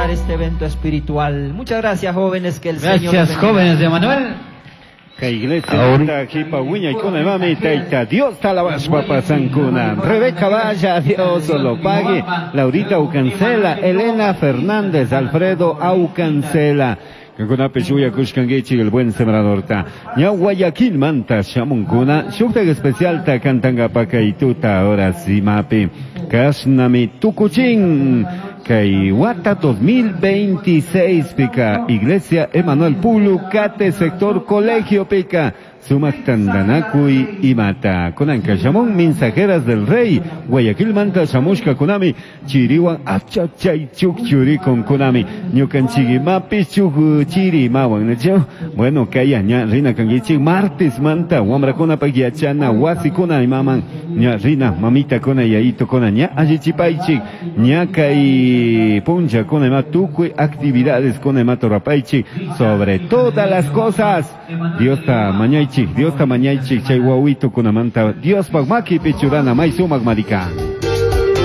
celebrar este evento espiritual. Muchas gracias, jóvenes, que el Señor los Gracias, bendiga. jóvenes de Emanuel. Kay iglesia jipa wiñaykuna imami tayta Dios talabashpa pasankuna. Rebeca Valla, Dios lo pague. Laurita Aucancela, Elena Fernández, Alfredo Aucancela. Kankunapi shuyakushkankichik el buen sembradorta. Ña Guayaquil manta shamunkuna, shuktak especialta kantankapa kay tuta ahora simapi. Kashnami tukuchin. Kay wata 2026 pika Iglesia Emanuel Pulu Cate sector Colegio pika Sumak Tandanakuy imata kunanka shamun mensajeras del rey Guayaquil manta shamushka kunami chiriwan achachay chukchurikun kunami ñukanchik chuk chiri mawan nacho bueno kaya ña rina kankichik martes manta wamrakunapak yachana wasikuna imaman ña rina mamita kuna yayito kuna ña allichipaychik ña kay puncha kuna ima tukuy actividades kuna ima torapaychik sobre todas las cosas Diosta mañaychik Diosta mañaychik chay wawito kunamanta Diospak makipi churana may sumak marika.